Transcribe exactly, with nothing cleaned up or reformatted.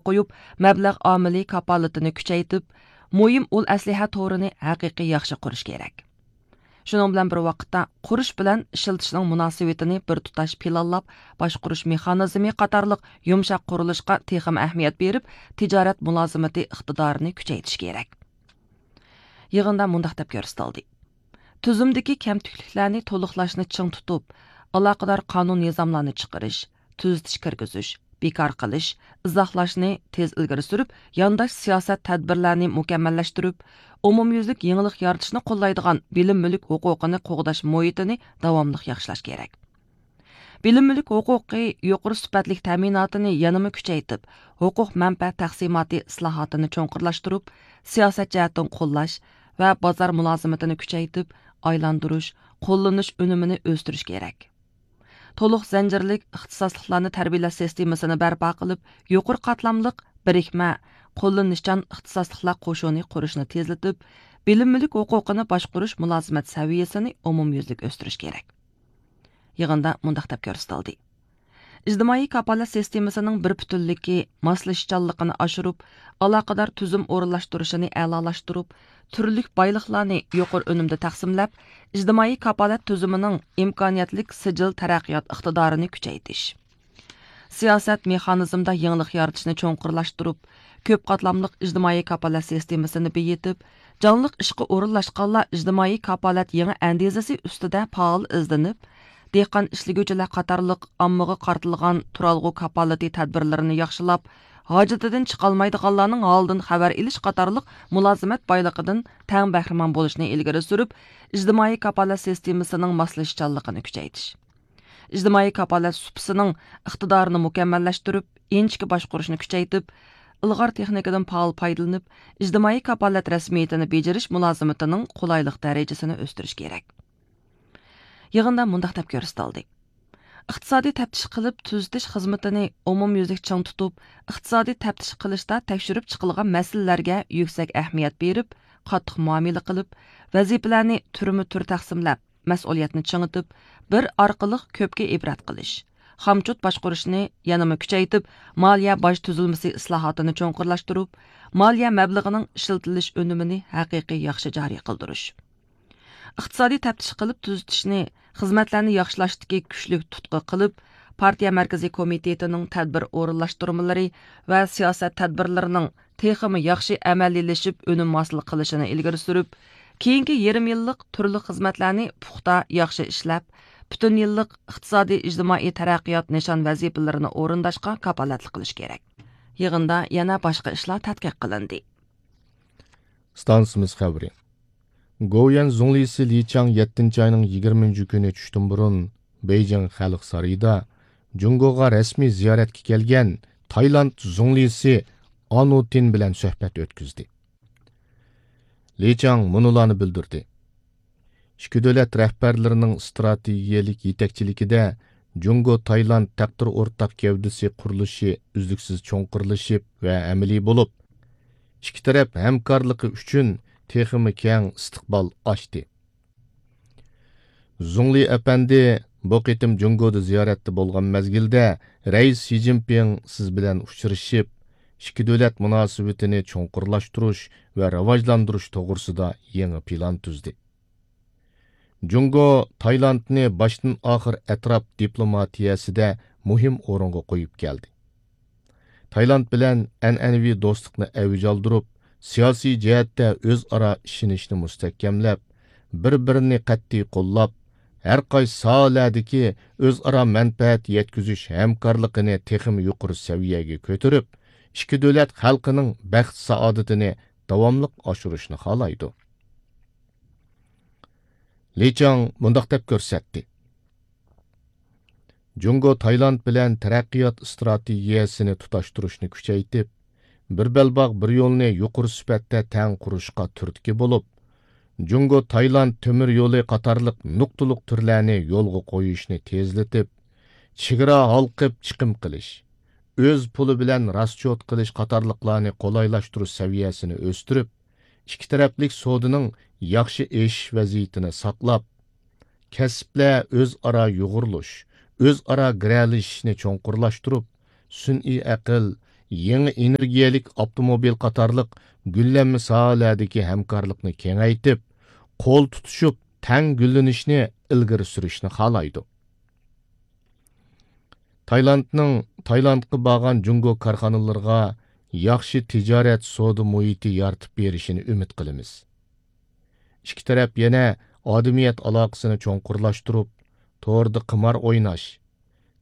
قويۇپ، مەبلەغ ئامىلى كاپالىتىنى كۈچەيتىپ، مۇھىم ئۇل ئەسلىھە تورىنى ھەقىقىي ياخشى قۇرۇش كېرەك. شۇنىڭ بىلەن بىر ۋاقىتتا، قۇرۇش بىلەن ئىشلىتىشنىڭ مۇناسىۋىتىنى بىر تۇتاش پىلانلاپ، باشقۇرۇش مېخانىزمى قاتارلىق يۇمشاق قۇرۇلۇشقا تېخىمۇ ئەھمىيەت بېرىپ، تىجارەت مۇلازىمىتى ئىقتىدارىنى كۈچەيتىش كېرەك. يىغىندا مۇنداق دەپ كۆرسىتىلدى: تۈزۈمدىكى كەمتۈكلۈكلەرنى تولۇقلاشنى چىڭ تۇتۇپ، ئالاقىدار قانۇن نىزاملارنى چىقىرىش، تۈزىتىش كىرگۈزۈش، بىكار قىلىش، ئىزاھلاشنى تېز ئىلگىرى سۈرۈپ، يانداش سىياسەت تەدبىرلەرنى مۇكەممەللەشتۈرۈپ، ئومۇميۈزلۈك يېڭىلىق يارىتىشنى قوللايدىغان بىلىم مۈلۈك ھوقۇقىنى قوغداش مۇھىتىنى داۋاملىق ياخشىلاش كېرەك. بىلىم مۈلۈك ھوقۇقى يۇقىرى سۈپەتلىك تەمىناتىنى يەنىمۇ كۈچەيتىپ، ھوقۇق مەنپەئەت تەقسىماتى ئىسلاھاتىنى چوڭقۇرلاشتۇرۇپ، سىياسەت جەھەتتىن قوللاش ۋە بازار مۇلازىمىتىنى كۈچەيتىپ، ئايلاندۇرۇش، قوللىنىش ئۈنۈمىنى ئۆستۈرۈش كېرەك. تولۇق زەنجىرلىك ئىختىساسلىقلارنى تەربىيەلەش سىستېمىسىنى بەرپا قىلىپ، يۇقىرى قاتلاملىق، بىرىكمە، قوللىنىشچان ئىختىساسلىقلار قوشۇنى قۇرۇشنى تېزلىتىپ، بىلىم مۈلۈك ھوقۇقىنى باشقۇرۇش مۇلازىمەت سەۋىيەسىنى ئومۇميۈزلۈك ئۆستۈرۈش كېرەك. يىغىندا مۇنداق دەپ كۆرسىتىلدى: ئىجتىمائىي كاپالەت سىستېمىسىنىڭ بىر پۈتۈنلۈكى، ماسلىشىشچانلىقىنى ئاشۇرۇپ، ئالاقىدار تۈزۈم ئورۇنلاشتۇرۇشىنى ئەلالاشتۇرۇپ، تۈرلۈك بايلىقلارنى يۇقىرى ئۈنۈمدە تەقسىملەپ، ئىجتىمائىي كاپالەت تۈزۈمىنىڭ ئىمكانىيەتلىك سىجىل تەرەققىيات ئىقتىدارىنى كۈچەيتىش. سىياسەت مېخانىزمىدا يېڭىلىق يارىتىشنى چوڭقۇرلاشتۇرۇپ، كۆپ قاتلاملىق ئىجتىمائىي كاپالەت سىستېمىسىنى بېيىتىپ، جانلىق ئىشقا ئورۇنلاشقانلار ئىجتىمائىي كاپالەت يېڭى ئەندىزىسى ئۈستىدە پائال ئىزدىنىپ، دېھقان ئىشلىگۈچىلەر قاتارلىق ئاممىغا قارىتىلغان تۇرالغۇ كاپالىتى تەدبىرلىرىنى ياخشىلاپ، ھاجىتىدىن چىقالمايدىغانلارنىڭ ھالىدىن خەۋەر ئېلىش قاتارلىق مۇلازىمەت بايلىقىدىن تەڭ بەھرىمەن بولۇشنى ئىلگىرى سۈرۈپ، ئىجتىمائىي كاپالەت سىستېمىسىنىڭ ماسلىشىشچانلىقىنى كۈچەيتىش. ئىجتىمائىي كاپالەت سۇپىسىنىڭ ئىقتىدارىنى مۇكەممەللەشتۈرۈپ، ئىنچىكە باشقۇرۇشنى كۈچەيتىپ، ئىلغار تېخنىكىدىن پائال پايدىلىنىپ، ئىجتىمائىي كاپالەت رەسمىيىتىنى بېجىرىش مۇلازىمىتىنىڭ قولايلىق دەرىجىسىنى ئۆستۈرۈش كېرەك. يىغىندا مۇنداق دەپ كۆرسىتىلدى: ئىقتىسادىي تەپتىش قىلىپ تۈزىتىش خىزمىتىنى ئومۇميۈزلۈك چىڭ تۇتۇپ، ئىقتىسادىي تەپتىش قىلىشتا تەكشۈرۈپ چىقىلغان مەسىلىلەرگە يۈكسەك ئەھمىيەت بېرىپ، قاتتىق مۇئامىلە قىلىپ، ۋەزىپىلەرنى تۈرمۇ تۈر تەقسىملەپ، مەسئۇلىيەتنى چىڭىتىپ، بىر ئارقىلىق كۆپكە ئىبرەت قىلىش، خامچوت باشقۇرۇشنى يەنىمۇ كۈچەيتىپ، مالىيە باج تۈزۈلمىسى ئىسلاھاتىنى چوڭقۇرلاشتۇرۇپ، مالىيە مەبلىغىنىڭ ئىشلىتىلىش ئۈنۈمىنى ھەقىقىي ياخشى جارى قىلدۇرۇش. ئىقتىسادىي تەپتىش قىلىپ تۈزىتىشنى، خىزمەتلەرنى ياخشىلاشتىكى كۈچلۈك تۇتقا قىلىپ، پارتىيە مەركىزىي كومىتېتىنىڭ تەدبىر ئورۇنلاشتۇرمىلىرى ۋە سىياسەت تەدبىرلىرىنىڭ تېخىمۇ ياخشى ئەمەلىيلىشىپ، ئۈنۈم ھاسىل قىلىشىنى ئىلگىرى سۈرۈپ، كېيىنكى يېرىم يىللىق تۈرلۈك خىزمەتلەرنى پۇختا، ياخشى ئىشلەپ، پۈتۈن يىللىق ئىقتىسادىي، ئىجتىمائىي تەرەققىيات نىشان ۋەزىپىلىرىنى ئورۇنداشقا كاپالەتلىك قىلىش كېرەك. يىغىندا يەنە باشقا ئىشلار تەتقىق قىلىندى. ئىستانسىمىز خەۋىرى. گوۋۇيۈەن زۇڭلىسى لى چاڭ يەتتىنچى ئاينىڭ يىگىرمىنچى كۈنى چۈشتىن بۇرۇن بېيجىڭ خەلق سارىيىدا جۇڭگوغا رەسمىي زىيارەتكە كەلگەن تايلاند زۇڭلىسى ئانۇتىن بىلەن سۆھبەت ئۆتكۈزدى. لى چاڭ مۇنۇلارنى بىلدۈردى: ئىككى دۆلەت رەھبەرلىرىنىڭ ئىستراتېگىيەلىك يېتەكچىلىكىدە جۇڭگو تايلاند تەقدىر ئورتاق گەۋدىسى قۇرۇلۇشى ئۈزلۈكسىز چوڭقۇرلىشىپ ۋە ئەمەلىي بولۇپ، ئىككى تەرەپ ھەمكارلىقى ئۈچۈن تېخىمۇ كەڭ ئىستىقبال ئاچتى. زۇڭلى ئەپەندى بۇ قېتىم جۇڭگودا زىيارەتتە بولغان مەزگىلدە، رەئىس شى جىنپىڭ سىز بىلەن ئۇچرىشىپ، ئىككى دۆلەت مۇناسىۋىتىنى چوڭقۇرلاشتۇرۇش ۋە راۋاجلاندۇرۇش توغرىسىدا يېڭى پىلان تۈزدى. جۇڭگو تايلاندنى باشتىن ئاخىر ئەتراپ دىپلوماتىيەسىدە مۇھىم ئورۇنغا قويۇپ كەلدى. تايلاند بىلەن ئەنئەنىۋى دوستلۇقنى ئەۋج ئالدۇرۇپ، سىياسىي جەھەتتە ئۆزئارا ئىشىنىشنى مۇستەھكەملەپ، بىر-بىرىنى قەتئىي قوللاپ، ھەر قايسى ساھەلەردىكى ئۆزئارا مەنپەئەت يەتكۈزۈش ھەمكارلىقىنى تېخىمۇ يۇقىرى سەۋىيەگە كۆتۈرۈپ، ئىككى دۆلەت خەلقىنىڭ بەخت-سائادىتىنى داۋاملىق ئاشۇرۇشنى خالايدۇ. لى چاڭ مۇنداق دەپ كۆرسەتتى: جۇڭگو تايلاند بىلەن تەرەققىيات ئىستراتېگىيەسىنى تۇتاشتۇرۇشنى كۈچەيتىپ، بىر بەلباغ، بىر يولنى يۇقىرى سۈپەتتە تەڭ قۇرۇشقا تۈرتكە بولۇپ، جۇڭگو تايلاند تۆمۈر يولى قاتارلىق نۇقتىلىق تۈرلەرنى يولغا قويۇشنى تېزلىتىپ، چېگرا ھالقىپ چىقىم قىلىش، ئۆز پۇلى بىلەن راسچوت قىلىش قاتارلىقلارنى قولايلاشتۇرۇش سەۋىيەسىنى ئۆستۈرۈپ، ئىككى تەرەپلىك سودىنىڭ ياخشى ئېشىش ۋەزىيىتىنى ساقلاپ، كەسىپلەر ئۆزئارا يۇغۇرۇلۇش، ئۆزئارا گىرەلىشىشنى چوڭقۇرلاشتۇرۇپ، سۈنئىي ئەقىل، يېڭى ئېنېرگىيەلىك ئاپتوموبىل قاتارلىق گۈللەنمە ساھەلەردىكى ھەمكارلىقنى كېڭەيتىپ، قول تۇتۇشۇپ تەڭ گۈللىنىشنى ئىلگىرى سۈرۈشنى خالايدۇ. تايلاندنىڭ تايلاندقا بارغان جۇڭگو كارخانىلىرىغا ياخشى تىجارەت سودا مۇھىتى يارىتىپ بېرىشىنى ئۈمىد قىلىمىز. ئىككى تەرەپ يەنە ئادىمىيەت ئالاقىسىنى چوڭقۇرلاشتۇرۇپ، توردا قىمار ئويناش،